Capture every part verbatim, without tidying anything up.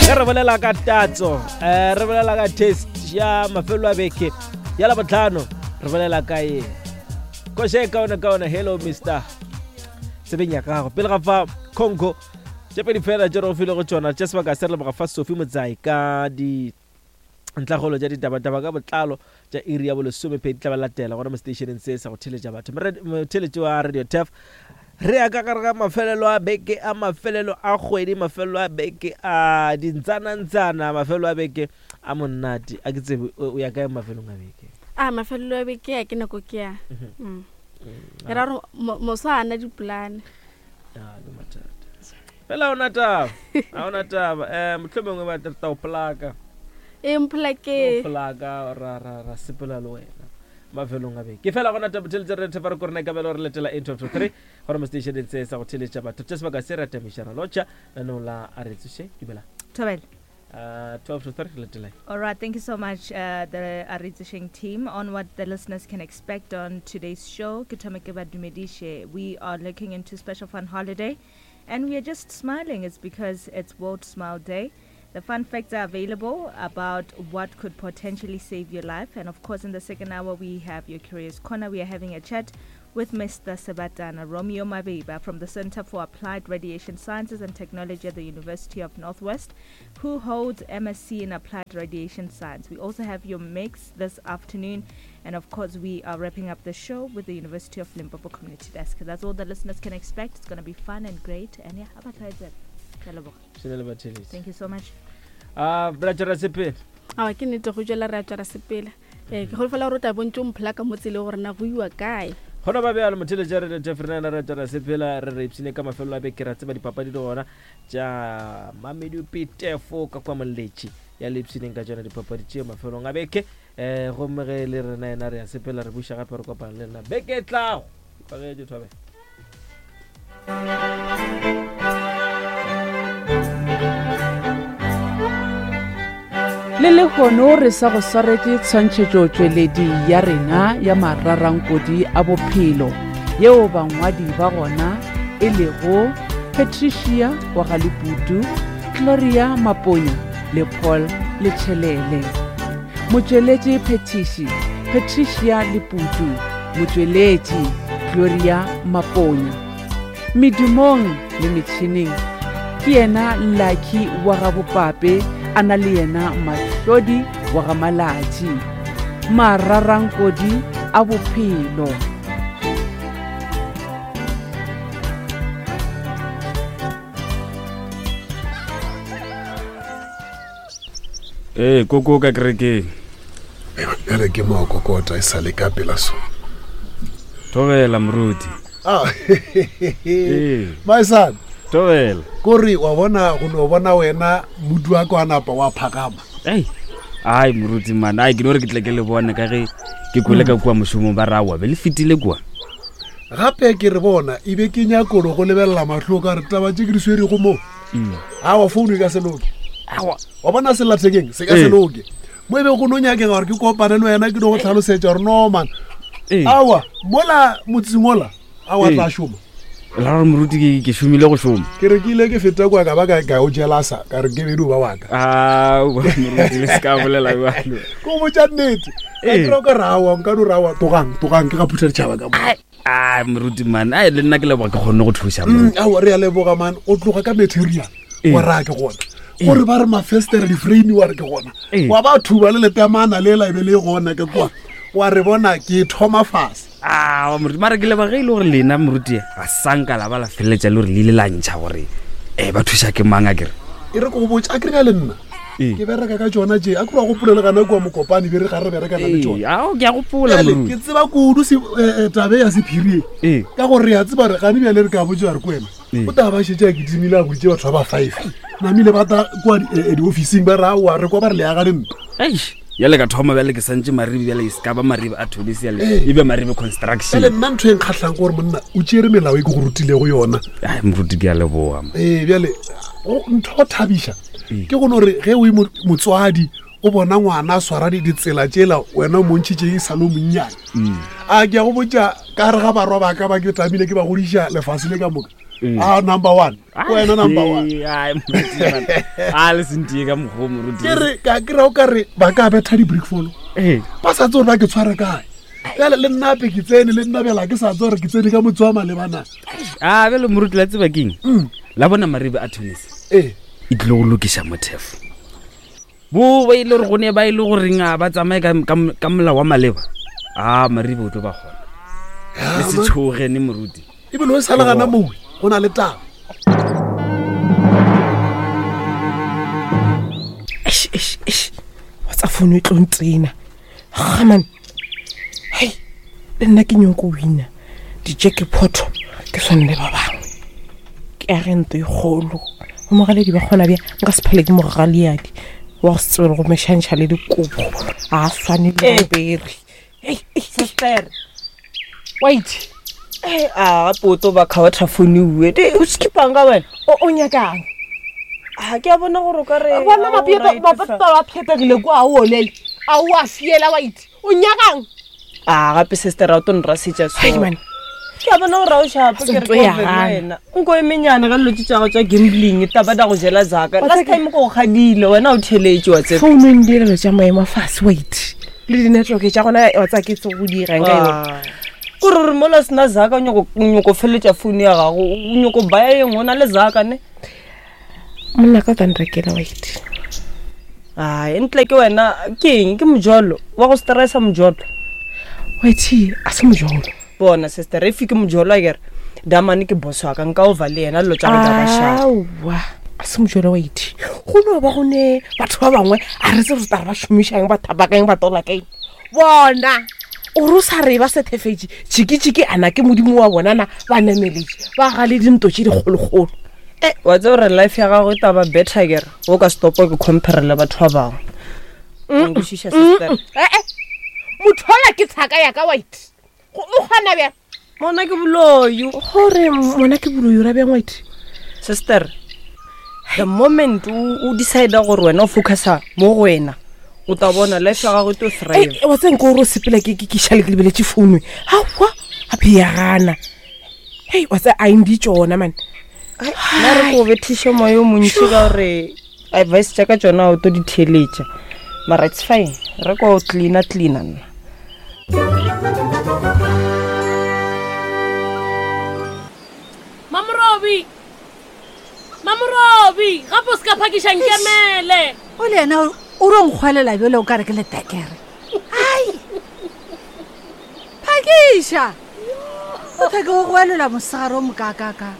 Ge re bolela ka tatso, um re bolela ka taste ya mafelo a beke ya Labohlano, re bolela ka eng? Koša e kaone kaone, hello mister tsebeng ya gago. Pele ga fa Congo tše pedi fela tše re go file go tšona tše sebaka se re leboga fa Sophie Motsai ka di ntlhakgolo tša ditabataba ka botlalo tša iri ya bolesomepedi tla ba latela gona mo stationeng se sa go theletša batho. Motheletši wa Radio Tef, re ya ka gare ga mafelelo a beke a mafelelo a kgwedi, mafelelo a beke a dintsanantsana, mafelelo a beke a monate. A ke tsebe o ya kae mafelong a beke? A mafelelo a beke a ke nako ke ya. Mm. Ke ra gore moso a na dipolane. Ah, ke mathata. Fela ona taba, a ona taba. Eh mohlomongwe ba tla o plaka. E mpolake. Plaka ra ra ra sepela le wena mafelong a beke. Ke fela gona taba theletša re thefa re korena ka belo re letela eight twelve three gore mo station se sa go theletša batho. Tše sebaka se re atamišana lotša nanong la a re tsoše dumela. Thobela. Uh, twelve to three, letela. All right, thank you so much, uh, the Aritsusheng team, on what the listeners can expect on today's show. Ke thome ke ba dumediše. We are looking into special fun holiday, and we are just smiling. It's because it's World Smile Day. The fun facts are available about what could potentially save your life. And of course, in the second hour, we have your Curious Corner. We are having a chat with Mister Sebatana Romeo Mabeba from the Center for Applied Radiation Sciences and Technology at the University of Northwest, who holds M S C in Applied Radiation Science. We also have your mix this afternoon. And of course, we are wrapping up the show with the University of Limpopo Community Desk. That's all the listeners can expect. It's gonna be fun and great. And yeah, how about that? Thank you so much. Ah, bra tšwela sepela. Ah, ke nnete go tšwela re a tšwela sepela. Eh, ke holofela gore o tla bontše o mphola ka mo tseleng gore na go iwa kae. Gona ba bjalo motheletša re lete Fernanda re tšwela sepela re re ipshine ka mafelo a beke ra tseba dipapadi le gona tša Mamelodi Pitefo ka kwa Moletši ya le ipshineng ka tšona dipapadi tše mafelong a beke. Eh, gomme ge le rena yena re ya sepela re buša gape re kopana le lena beke e tlago. Ipagetše Thobela. Le lehono re sa go swaretše tshwantšhetšotšweledi ya rena ya mararankodi a bophelo yeo bangwadi ba gona e lego Patricia wa ga Leputu, Gloria Maponya le Paul Letšhelele. Motšweletši Phetiši Patricia Leputu, motšweletši Gloria Maponya. Medumong le metšhineng ke yena Lucky wa ga Bopape, a na le yena Mahlodi wa ga Malatši. Mararankodi a bophelo. Ee, koko ka kerekeng. Bjale ke mo kokota e sa le ka pela so. Thobela moruti. Ah, my son. Thobela. Kore wa bona go no bona wena modu wa ka wa napa wa phagama. Ei, ai moruti man, ai ke no re ke tle ke le bone ka ge ke kwele ka kua mošomong ba rawa be le fetile kua. Gape ke re bona e be ke nyakolo go lebelela mahlo ka re taba tše ke di swerego mo. Awa founu e ka se loke. Awa. Wa bona sellathekeng se ka se loke. Mo e be go no nyakega gore ke kopane le wena ke no go tlhalosetša gore no man. Awa mola motseng ola awa tla šoma. La gore moruti ke ke šomile go šoma. Ke re ke ile ke feta kwa ka ba ka ka o jelasa ka re ke bedu ba wa ka. Ah, moruti le se ka bolela jwalo. Ko botša nnete. Ka ke re ka rawa nka no rawa togang togang ke ga phutha ditšhaba ka mo. Ah, moruti man, ai le nna ke leboga ke kgonne go thuša moruti. Awa re a leboga man, o tloga ka material. Wa ra ke gona. Gore ba re mafestere di-frame wa re ke gona. Wa ba thuba le letemana le la e be le gona ke kwa. Wa re bona ke thoma fase. Ah, moruti mara ke leboga ge e le gore lena moruti ga sanka la ba la feleletša le gore le ile la ntšha gore eh ba thuša ke mang a kere. E re ke go botša a kere le nna. Ke bereka ka tšona tše a ke wa gopola le gana kua Mokopane be re ga re berekana le tšona. Ao ke a gopola moruti. Ke tseba kudu se tabe ya sephiri e. Ka gore re a tseba re gane bjale re ka botša re ko wena. O tla ba šetše a kitimile a boditše batho ba ba five. Namile ba tla kua diofising ba re aowa re kwa ba re le aga dintlo. Eish. Bjale ka thoma bjale ke santše maribe bjale e se ka ba maribe a Tobis yale e be maribe construction. Bjale nna ntho e nkgahlang ke gore monna o tšere melao e ke go rutilego yona. Ai moruti ke a leboga. Ee bjale ntho go thabiša ke go no re ge o e motswadi o bona ngwana a swara ditsela tšela wena o montšhitše e sa le o monnyane. A ke a go botša ka re ga barwa ba ka ba ke tlamile ke ba godiša lefase le ka moka. A number one. Wena number one. Ai moruti man. A le sentie ka mokgwa o moruti. Ke re ka kry-a o ka re ba ka betha di-brick follow. Ee. Ba sa tse gore ba ke tshware kae. Bjale le nna ape ke tsene le nna bjala ke sa tse gore ke tsene ka motse wa malebana. A bjale moruti la tseba keng? Mm. La bona Maribe Attorneys. Ee. E tlile go lokiša mothefo. Bo ba ile gore go ne ba ile goreng a ba tsamaye ka ka- ka molao wa maleba. A Maribe o tlo ba kgona. Le se tshoge ne moruti. Ebile o sa le gana mowe go na le taba. Eish, eish, eish. Wa tsa founu e tlo ntsena. Gaman. Hei, le nna ke nyoko wina. Di-jackpot ke swane le ba bangwe. Ke agente e kgolo. Bo mogaledi ba kgona bja nka se phele ke mogaleadi wa go se tsebe le go mešantšha le dikobo. A swane le bobere. Hei, hei, Sister, wait. eh a gape o tlo ba kgaotha founu ue. Di o skipang ka wena? O o nyakang? A ke a bona gore o ka re Bona a o mapepe right mapepe fa. ba phetegile kwa a o olele. A o a fiela wait. O nyakang? A gape sister a o tlo nrasetša so. Hei man. Ke a bona gore a o shapo ke re Ntho ke ya over le gana. wena. Nko e menyane ka dilo tše tša gago tša gambling taba da go jela zaka. Last time ko go kgadile wena o theletše wa tseba. Founung dielelo tša maemo a fase wait. Le di-network tša gona wa tsaya ke tse go dirang ka yona. Ah. Kore gore mola o sena zaka o nyako o nyako feleletša founu ya gago o nyako baya e nngwe o na le zaka ne. Monna ka o tla nrekela wait. Ai ntle ke wena ke eng ke mojolo wa go stressa mojolo. Wait, a se mojolo. Bona sister if ke mojolo a kere damane ke boss wa ka nka over le yena dilo tša go ba sharp. Aowa, a se mojolo wait. Go no ba go ne batho ba bangwe a re tsebe gore tare ba šomišang ba thapakang ba tola kaeng. Bona o re o sa re ba sethefetše tšhikitšhiki ana ke modimo wa bona na ba nameletše ba gale dinto tše dikgolokgolo. Eh, wa tseba gore life ya gago e taba better kere o ka stopa ke compare le batho ba bangwe. O nkwešiša sister. Ee, motho ola ke tshaka ya ka wait. Go- O kgona bjang? Mona ke boloi. Gore mona ke boloi o ra bjang wait? Sister, the moment o o decide gore wena o focusa mo go wena, o tla bona life ya gago e tlo thrive. Ei, wa tseba nko gore o sepela ke ke- ke šale ke lebeletše founu aowa gape ya gana. Hei, wa tseba a eng tšona man. Nna re ko bethiše moya o montši ka gore advice tša ka tšona o tlo di theeletša. Mara it's fine. Re ko cleaner cleaner nna. Mamorobi Mamorobi gape o se ka phakiša nkemele o le yena o ro nkgwelela bjale o ka re ke letekere. Ai phakiša o tlhoke go goelela mosegare o mokakaka.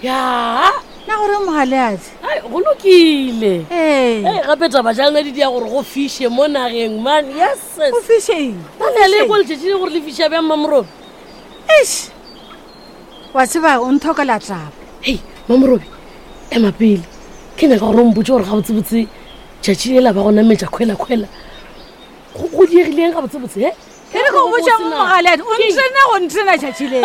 Ya na gore mogaleadi ai go lokile. Ee. Ei, gape taba tša lena di dia gore go fiše mo nageng man. Yes sis. O fišeng? Nna le kwa letšatši le gore le fiša bjang Mamorobi? Eish, wa tseba o nthokela taba. Hei Mamorobi, ema pele ke nyaka gore o mpotse gore gabotsebotse tšatši lela ba go nametša kgwela-kgwela go go diegileng gabotsebotse he? Ke re go botša mo mogaleadi o ntsena go ntsena tšatši le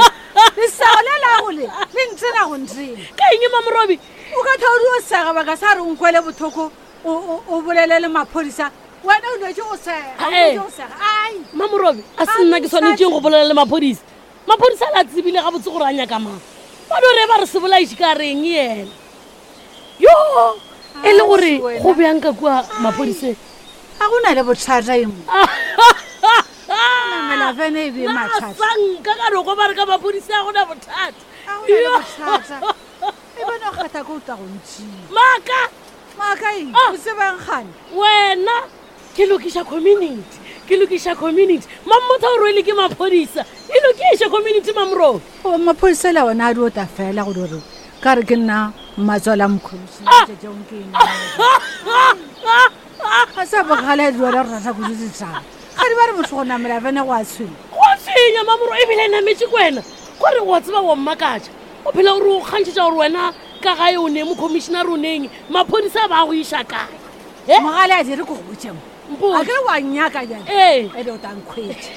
lesago le lago le le ntsena go ntsena. Ka eng Mamorobi? O ka thaodi o sega baka sa re o nkwele bothoko o o- o bolele le maphodisa wena o lwetse o sega o Ee. lwetse o sega. Ai Mamorobi, a se nna ke swanetšeng go bolela le maphodisa. Maphodisa a le a tsebile gabotse gore a nyaka mang. Ba no re ba re se bolaiše ka reng yena. Yo, e le gore wena. go bjang ka kua maphodiseng? Ga go na le bothata e mo namela fene e be mathata. Sanka ka roko ba re ka maphodisa a gona bothata. Ga go na le bothata e bone o kgatha ko o tla go ntšhia. Maaka. Maaka eng? Ah. O tsebang kgane? Wena ke lokiša community, ke lokiša community. Mammotha o rwele ke maphodisa. E lokiše community Mamorobi. O maphodisa le ona a di ota fela go dire ka re ke nna mmatswala mokhomišene Ah. tšatšong ke eng. Ga sa bogale di wena re rata kudu ditaba. Ga di ba re motho go namela fene go a tshwenya. Go tshwenya Mamoro ebile nametše ke wena. Kore wa tseba wa mmakatša. O phela o re o kgantšhetša gore wena ka gae o neng mokhomišenare o neng maphodisa ba go iša kae? Eh? Mogale a dire ko go botše mo. Mpotše. A ke re wa nnyaka bjale. Ee. Ene o tla nkhwetša.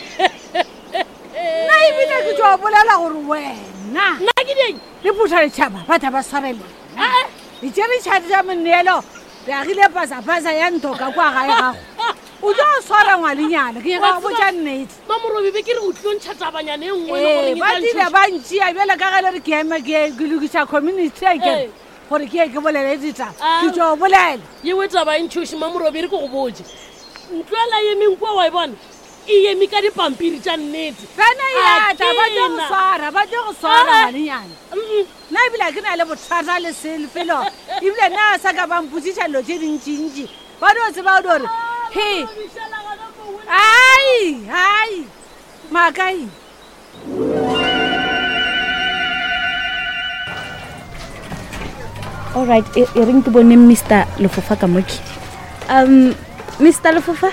Nna ebile ke tšo bolela gore wena. Nna ke dieng? Le phutha letšhaba ba tla ba swarelena. Ee. Le tšere tšhadi tša moneelo re agile pasapasa ya ntho ka kwa gae gago. O tlo swara ngwanenyana ke nyaka go botša nnete. Mamorobi be ke re o tlilo ntšha tabanyana e nngwe e le Ee, goreng e ba tla tile ntšhoša. ba ntšea bjale ka ge le re ke eme ke ke lokiša community a kere Ee. gore ke ye ke bolele ditaba Ah. ke tšo bolela. Yewe taba e ntšhoše Mamorobi e re ke go botše. Ntlo ela emeng kua wa e bona e eme ka dipampiri tša nnete. Bana A ya tla ba tlo go kena. swara ba tlo go swara Ah. ngwanenyana. Mm-mm. Nna ebile ha ke na le bothata le selefelo ebile nna a sa ka ba mpotsiša dilo tše dintšintši ba dio tseba gore he ai ai maakai. Alright, e e reng ke bone Mister Lefofa ka moke. Um Mister Lefofa,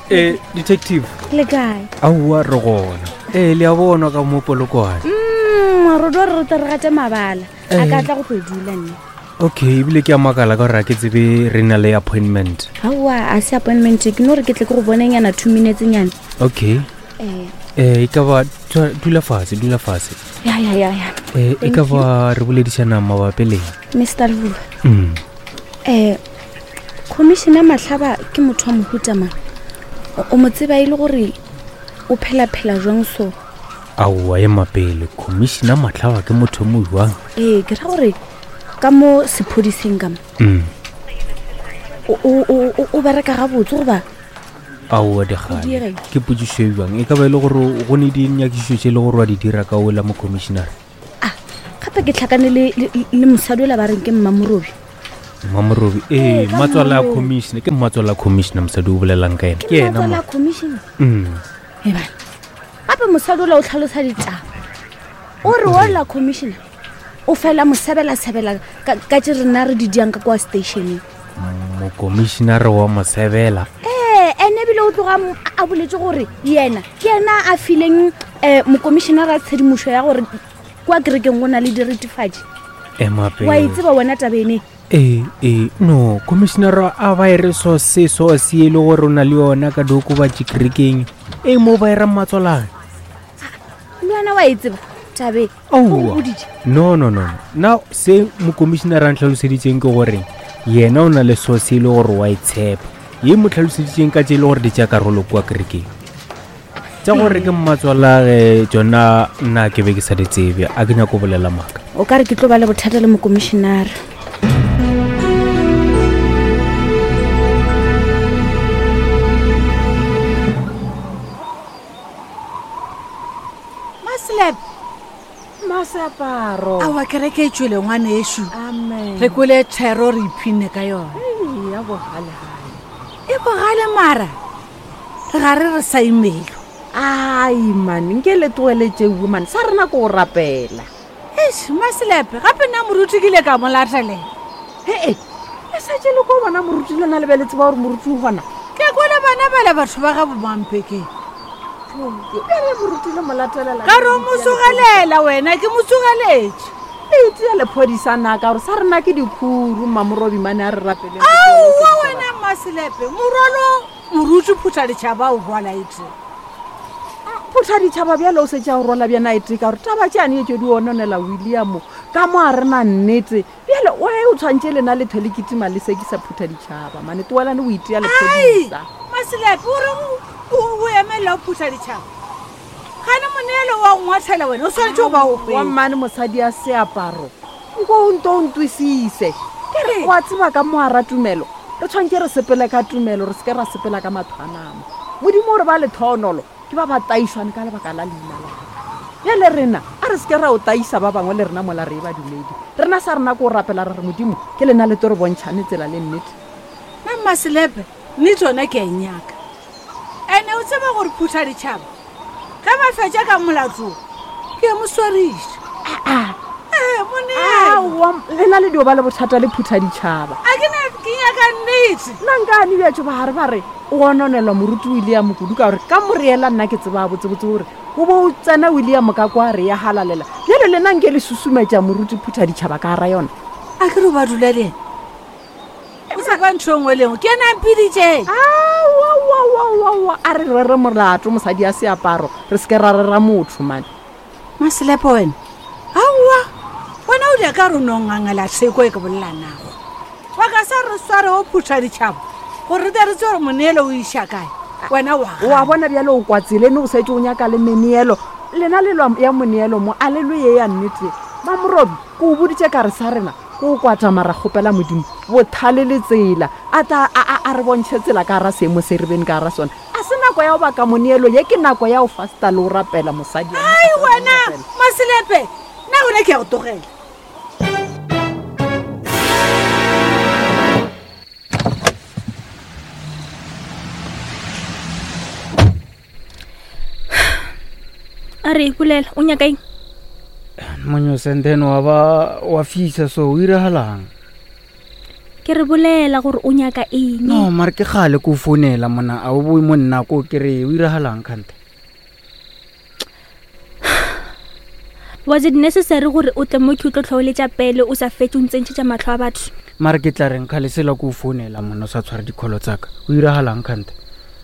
Eh, detective le kae? aowa re gona ee le a bona ka mo polokwane. Mm, re do re rata re gate mabala. A ka Eh. tla go tlo dula nne. Okay, ebile ke a makala ka gore a ke tsebe re na le appointment. Aowa, a se appointment, ke no re ke tle ke go bonenyana two minutes nyana. Okay. Eh, Eh, e ka ba tshwa- dula fatshe dula fatshe. ya ya ya ya. Eh, e Thank ka ba re boledišana mabapi leng? Mister Lefofa. Mm. Eh, Commissioner Mahlaba ke motho wa mohuta mang? O- O mo tseba e le gore o phela-phela jwang so? Aowa ema pele commissioner Mahlaba ke motho o mo jwang? Ee, ke ra gore ka mo sephodiseng ka mo Mm. o o- o o- o bereka gabotse goba Aowa O dikgale diega eng? ke potšišo e jwang e ka ba e le gore go ne dinyakišišo tše e le gore wa di dira ka ola mo commissioner. Gape ke tlhakane le, le, le mosadi ola ba reng ke Mmamorobi. Mmamorobi ee Ee, ka mmatswala a Mmamorobi. commissioner ke mmatswala a commissioner mosadi o bolelang ka ena Ke ke ena mmatswala mo a commissioner. Mm. Ebane gape mosadi ola o tlhalosa ditaba o re ola commissioner o fela mo sebela-sebela ka ka tše rena re di diang ka kwa stationeng. Mokomišenare wa mosebela. Ee, ene ebile o tloga mo- a boletse gore yena ke yena a fileng um mokomišenara tshedimošo ya gore kwa kerekeng go na le diretefatši. Ema Wa e pele. tseba wena tabene. Ee ee no commissionera a ba e re so se so se e le gore o na le yona ka diokobatši kerekeng e mo ba e ra mmatswalane. Le wena wa e tseba tabe o go Aowa boditše. no no no no. Nna se mokomišenare a ntlhaloseditseng ke gore yena o na le source e le gore wa e tshepa ye mo tlhaloseditseng ka tse e le gore di tša karolo kua kerekeng tša gore ke mmatswalage tsona nna ke be ke sa di tsebe a ke nyako bolela maaka. O ka re ke tlo ba le bothata le mokomišenare. Maselep Maseaparo. Aowa kereke e tšwele ngwanešu. Amen. Re kwele thero re iphinne ka yona. Ei, ya bogalegale. E bogale mara re ga re re sa imelo. Ai man, nke le tlohele tšeo man, sa rena ko go rapela. Eish, Maselepe gape nna moruti ke ile ka mo latelela. Ee, le setse le ko bona moruti lona le be le tseba gore moruti o gona. Ke kwele bana bale batho ba ga bomampekeng. Bjale moruti le mo latelela. Ka re o mo tsogelela wena ke mo tsogeletše. Le itia lephodisa na ka gore sa rena ke dikhuru Mmamorobi mane a re rapeleng. Aowa wena Maselepe morwalo moruti phutha ditšhaba o rwala e tee. Phutha ditšhaba bjale o setse a o rwala bjana e tee ka gore taba tšeane e tšo di ononela William ka mo a rena nnete bjale oe o tshwantše lena letho le kitima le sekisa phutha ditšhaba mane tloelane o itia Ai lephodisa. Maselepe o reng o o emelela o phutha ditšhaba gane moneelo wa go ngwathela wena o swanetše go ba o Wa hwetša. mmane mosadi a seaparo nko o nto o ntwisise ke re wa tseba ka mo ara tumelo re tshwanetse re sepele ka tumelo re seke ra sepela ka matho a nama. Modimo o re ba lethonolo ke ba ba taišwane ka lebaka la leina la gagwe. Bjale rena a re seke ra o taisa ba bangwe le rena mola re e badumedi rena sa rena ko o rapela re re modimo ke lena le tlo re bontšhane tsela le nnete. Nna Maselepe nnete yona ke a e nyaka ene o tseba gore phutha ditšhaba ge ba fetša ka molato ke a mo swariša. Ee moneelo Aowa lena le dio ba le bothata le phutha ditšhaba. A ke na ke nyaka nnete. Nna nkane bjatšo ba gare ba re o gononelwa moruti William kudu ka gore ka moreela nna ke tseba botsebotse gore o bo o tsena William ka kwa re ya halalela bjale lena nke le susumetša moruti phutha ditšhaba ka gara yona. A ke re o ba dula le ena o sa kwa ntho e nngwe le nngwe ke ena a mpiditšeng. Aowaowaowa a re rere molato mosadi a seaparo re seke ra rera motho mane. Maselepe wena aowa wena o dia ka re o no ngangela theko e ke bolela nago. Ba ka sa re sware o phutha ditšhaba Gore re tle re tsebe gore moneelo o iša kae. Wena wa Wa bona bjale o kwa tseleng o setse o nyaka le meneelo. Lena le lwa ya moneelo mo a le lwe ye ya nnete. Mamorobi, ke o boditše ka re sa rena ke o kwata mara kgopela Modimo bothale le tsela a tla a, a, a re bontšhe tsela ka gara seemo se re beng ka gara sona. A se nako ya go baka moneelo ye, ke nako ya go fasta le go rapela mosadi. Ai wena Maselepe, nna gona ke ya go tlogela. A re bolela o nyaka eng? Monyose, and then wa ba wa fisa so o iragalang? Ke re bolela gore o nyaka eng. No, mare ke kgale ko founela mona, a o bue mo nna ko ke re o iragalang kgante? Was it necessary gore o tle mo ke o tlo tlholetša pele o sa fetse o ntsentšhetša mahlo a batho? Mare ke tla reng kgale sela ko founela mona o sa tshware dikholo tsaka. O iragalang kgante?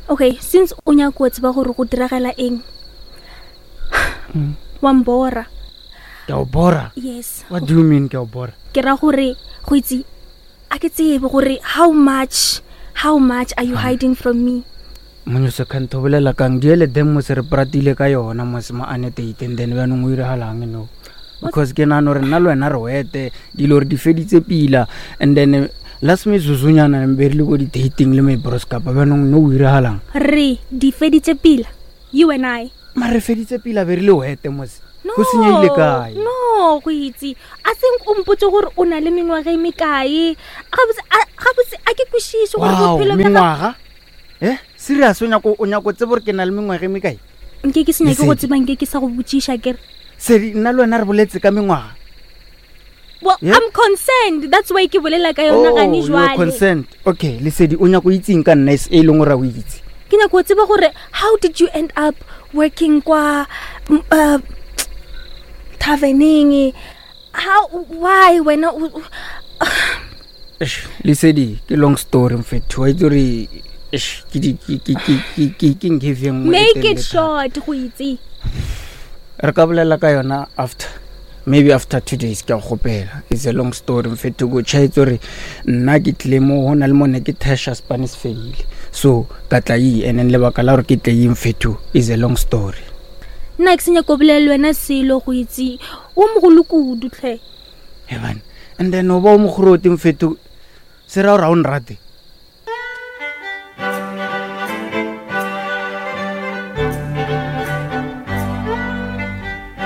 Okay, since o nyaka go tseba gore go diragala eng. Mm. Wa mbora. Ke a o bora? Yes. What do you mean ke a o bora? Ke ra gore go itse a ke tsebe gore how much, how much are you hiding from me? Monyose kgante o bolela kang? Diele dem mo se re pratile ka yona mo se mo annotate and then bjanong o iragalang no? Because ke nahana gore nna le wena re wete dilo re di feditse pila and then last metsotsonyana be re le ko di-dating le my bros kapa bjanong no o iragalang? Re di feditse pila, you and I. Mare re feditse pila be re le wete mose. No, Go senyehile kae? No, go itse. I think o mpotse gore o na le mengwaga e mekae. Gabotse, a, gabotse a ke kwešiše gore Wow, bophelo bja gago- mengwaga? Eh, serious o nyako, o nyako tseba gore ke na le mengwaga e mekae? Nke ke se nyake go Lesedi. tseba, nke ke sa go botšiša ke re. Sedi, nna le wena re boletse ka mengwaga. Well, Yeah? I'm concerned. That's why ke bolela ka yona Oh, gane you're jwale. concerned. Okay, Lesedi, o nyako itseng ka nna e leng gore a o itse? Ke nyako go tseba gore how did you end up working kwa, m-, uh, taverneng? How, why wena o, o- Eish, Lesedi, ke long story mfethu. Wa itse gore, eish, ke di, ke, ke, ke, ke, ke, ke nkhefi e nngwe e Make it telele thata. short go itse. Re ka bolela ka yona after. Maybe after two days ke a gopela. It's a long story mfethu. Go tjhaetse gore nna ke tlile mo ho na le mo ne ke thesha Spanish fedile. So ka tla e, and then lebaka la gore ke tle e mfethu is a long story. Nna ke se nyako bolela le wena selo go itse. O mogolo kudu tlhe. He man. And then o ba o mokgoroti mfethu. Se ra gore ha o nrate.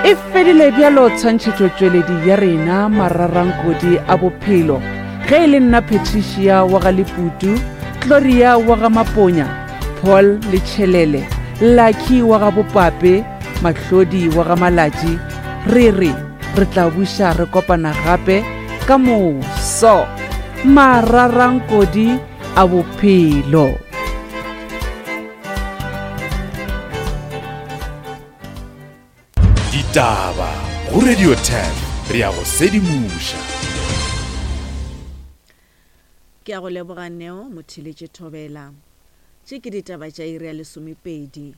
E fedile bjalo tshwantšhetšotšweledi ya rena mararankodi a bophelo. Ge e le nna Patricia wa ga Leputu, Gloria wa ga Maponya, Paul Letšhelele, Lucky wa ga Bopape, Mahlodi wa ga Malatši, re re re tla buša re kopana gape ka moso. Mararankodi a bophelo. Ditaba go Radio ten re ya go sedimoša. Ke a go leboga Neo Motheletše Thobela. Tše ke ditaba tša iri ya lesomepedi.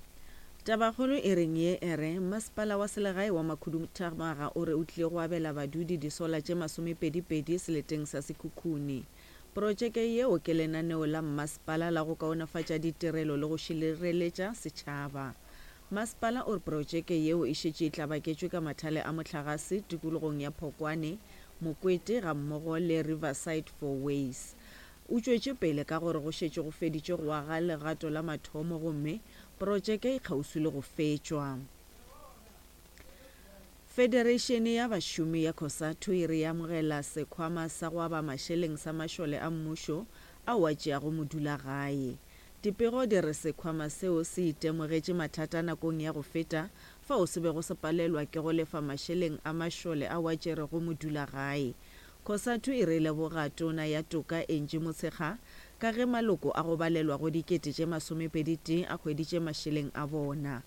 Tabakgolo e reng ye e re masepala wa selegae wa Makhuduthamaga o re o tlile go abela badudi disola tše masomepedipedi seleteng sa Sekhukhune. Projeke yeo ke lenaneo la mmasepala la go kaonafatša ditirelo le go šireletša setšhaba. Masepala o re projeke yeo e šetše e tlabaketšwe ka mathale a mohlagase tikologong ya Phokwane, Mokwete ga mmogo le Riverside Four Ways. O tšwetše pele ka gore go šetše go feditše go aga legato la mathomo gomme projeke e kgauswi le go fetšwa. Federation ya bašomi ya COSATU e re amogela sekhwama sa go aba mašeleng sa mašole a mmušo ao a tšeago modulagae. Dipego di re sekhwama seo se itemogetše mathata nakong ya go feta fao se bego se palelwa ke go lefa mašeleng a mašole ao a tšerego modulagae. COSATU e re leboga tona ya toka Angie Motshekga ka ge maloko a go balelwa go dikete tše masomepedi tee a hweditše mašeleng a bona.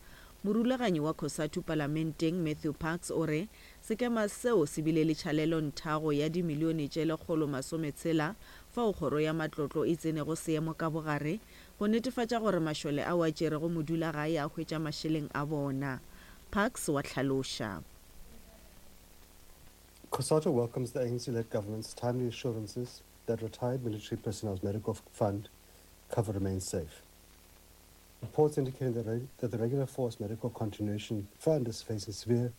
Morulaganyi wa COSATU palamenteng Matthew Parks o re sekema seo se bile le tšhalelo nthago ya dimilione tše lekgolo masometshela fao kgoro ya matlotlo e tsenego seemo ka bogare go netefatša gore mašole ao a tšerego modulagae a hwetša mašeleng a bona. Parks wa hlaloša. COSATU welcomes the A N C-led government's timely assurances that retired military personnel's medical fund cover remains safe. Reports indicating that, reg- that the Regular Force Medical Continuation Fund is facing severe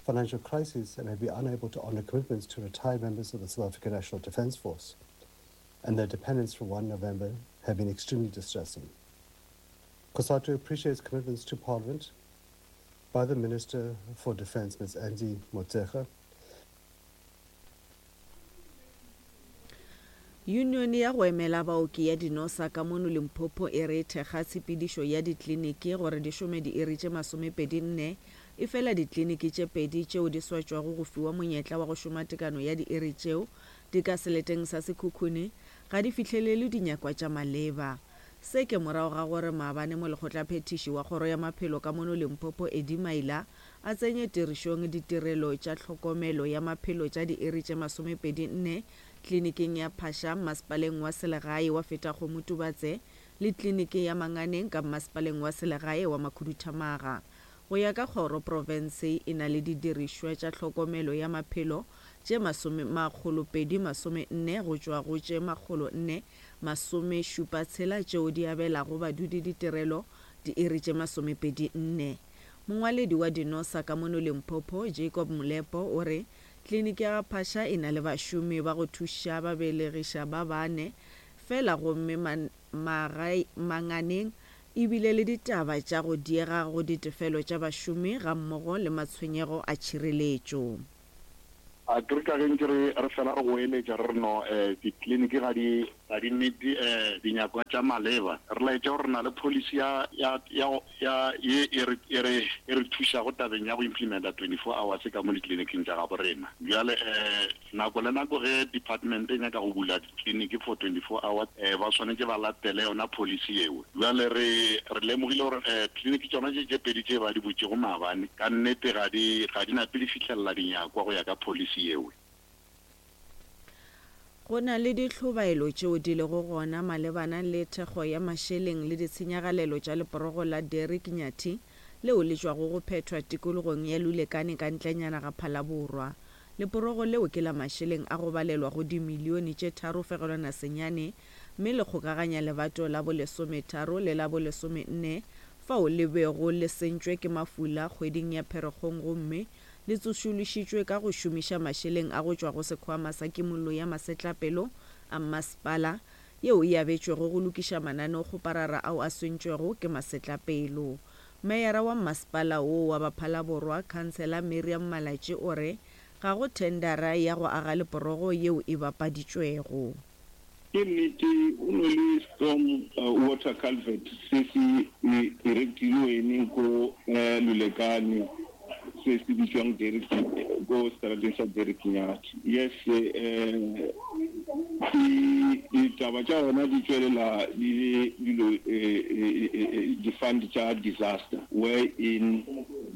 financial crisis and may be unable to honor commitments to retired members of the South African National Defence Force and their dependents from first November have been extremely distressing. COSATU appreciates commitments to Parliament by the Minister for Defence, Miz Angie Motshekga. Union ya go emela baoki ya dinosa ka mono Limpopo e re thekga tshepedišo ya dikliniki gore di šome diiri tše masomepedi nne, efela dikliniki tše pedi tšeo di swatšwago go fiwa monyetla wa go šoma tekano ya diiri tšeo di ka seleteng sa Sekhukhune ga di fihlelele dinyakwa tša maleba. Se ke morago ga gore maabane molekgotlaphethiši wa kgoro ya maphelo ka mono Limpopo Eddie Maila a tsenye tirišong ditirelo tša tlhokomelo ya maphelo tša diiri tše masomepedi nne kliniking ya Phasha mmasepaleng wa selegae wa Fetakgomo Tubatse le kliniki ya Manganeng ka mmasepaleng wa selegae wa Makhuduthamaga. Go ya ka kgoro, profense e na le didirišwa tša tlhokomelo ya maphelo tše masome makgolo pedi masome nne go tšwa go tše makgolo nne masome šupa tshela tšeo di abelago badudi ditirelo diiri tše masomepedi nne. Mongwaledi wa dinosa ka mono Limpopo, Jacob Molepo, o re kliniki ya Phasha e na le bašomi ba go thuša babelegiša ba bane fela gomme man, magae, Manganeng ebile le ditaba tša go diega go ditefelo tša bašomi gammogo le matshwenyego a tšhireletšo. A ke re ka ge ntše re re fela re goeletša re re no eh dikliniki ga di ga di meet eh dinyakwa tša maleba, re laetša gore re na le policy ya ya ya ya ye e re e re e re thušago tabeng ya go implementa twenty-four hours ka mo dikliniking tša gabo rena. Bjale eh nako le nako ge department e nyaka go bula dikliniki for twenty-four hours eh ba swanetše ba latele yona policy yeo. Bjale re re lemogile gore eh kliniki tšona tše tše pedi tše ba di butšego maabane ka nnete ga di ga di nape di fihlelela dinyakwa go ya ka policy yeo. Go na le dihlobaelo tšeo di lego gona malebana le thekgo ya mašeleng le ditshenyagalelo tša leporogo la Derek Nyathi leo le tšwago go phethwa tikologong ya Lulekane ka ntlenyana ga Phalaborwa. Leporogo leo ke la mašeleng a go balelwa go dimilione tše tharo fegelwana senyane mme le kgokaganya lebato la bolesometharo le la bolesomenne fao le bego le sentšwe ke mafula kgweding ya Pherekgong gomme le tsošološitšwe ka go šomiša mašeleng a go tšwa go sekhwama sa kimollo ya masetlapelo a mmasepala yeo e abetšwego go lokiša mananeokgoparara ao a swentšwego ke masetlapelo. Meyara wa mmasepala woo wa Baphalaborwa, Councillor Miriam Malatji o re ga go thendara ya go aga leporogo yeo e bapaditšwego. Ke nnete go no le storm water culvert se se erectilweng ko Lulekane se se bitswang Derek ko strateng sa Derek Nyathi. Yes, eh ditaba tša gona di tšwelela di le dilo di-fund tša disaster wherein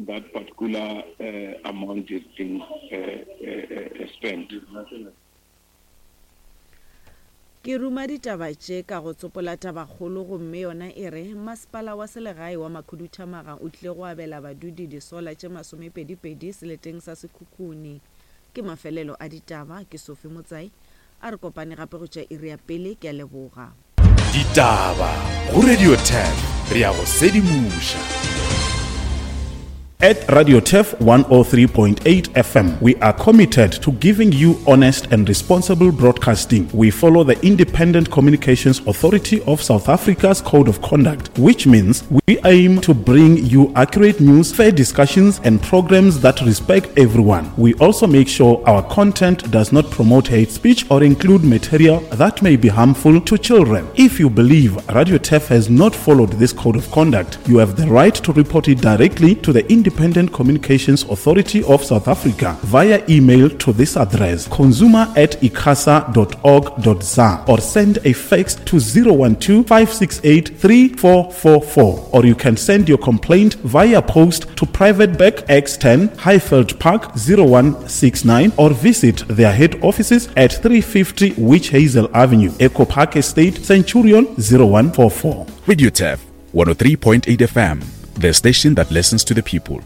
that particular uh, amount is being uh, uh, spent. Ke ruma ditaba tše ka go tsopola tabakgolo gomme yona e re masepala wa selegae wa Makhuduthamaga o tlile go abela badudi disola tše masomepedipedi seleteng sa Sekhukhune. Ke mafelelo a ditaba, ke Sophie Motsai. A re kopane gape go tša iri ya pele, ke a leboga. Ditaba go Radio ten, re ya go sedimoša. At Radio Turf one oh three point eight F M, we are committed to giving you honest and responsible broadcasting. We follow the Independent Communications Authority of South Africa's Code of Conduct, which means we aim to bring you accurate news, fair discussions, and programs that respect everyone. We also make sure our content does not promote hate speech or include material that may be harmful to children. If you believe Radio Turf has not followed this Code of Conduct, you have the right to report it directly to the Independent Independent Communications Authority of South Africa via email to this address, consumer at icasa dot org dot za, or send a fax to zero one two, five six eight, three four four four, or you can send your complaint via post to Private Bag X ten, Highveld Park zero one six nine, or visit their head offices at three fifty Witch Hazel Avenue, Echo Park Estate, Centurion zero one four four. Radio Turf one oh three point eight F M, the station that listens to the people.